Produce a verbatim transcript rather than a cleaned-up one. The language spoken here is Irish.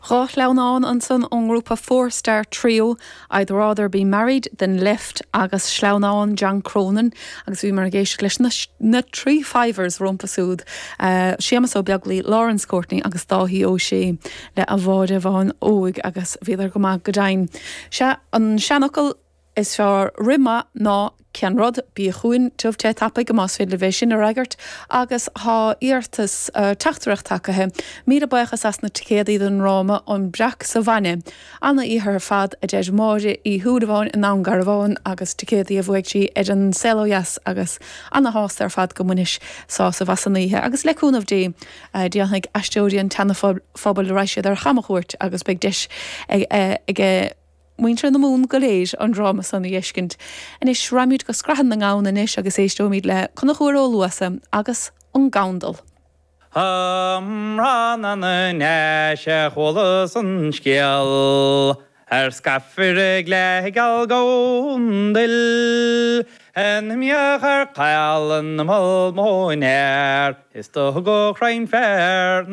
Dhá shleamhnán ansan ón ngrúpa Four Star Trio I'd rather be married than left agus sleamhnán John Cronin agus bhíomar ag éisteacht leis na, na Three Fivers rompu siúd. Uh, Séamus Ó Beaglaoich Lawrence Courtney agus Dáithí Ó Sé le A Bháire Bháin Óig agus bhíodar go maith go deimhin. Se an seanfhocal is fearr rith maith ná ceann rud bí chugainn tiubh te tapaidh más féidir libh sin a fhreagairt agus tá iarratas uh, teachtaireacht tagtha míle buíochas as na ticéadaí don dráma an Breac sa Bhainne. An-oíche ar fad a deir Máire Uí Shúilleabháin i nDún Garbhán agus ticéadaí a bhuaigh sí ar an Saol Ó Dheas agus ana-shásta ar fad go mbainis sásamh as an oíche agus le cúnamh Dé uh, déanfaidh Aisteoirí an tSeana-Phobail raghaidh siad ar chamchuairt agus beidh deis ag, ag, ag muintir na Mumhan go léir an dráma san a fheiscint. Anois raghaimid go Scrathan na nGamhan anois agus éisteoimid le Conchúr Ó Luasa agus an Gandal. Amhrán na nDéise chualas an scéal ar scaifire le gal gondil En miach ar cailan mol mónéir is do go chraim fer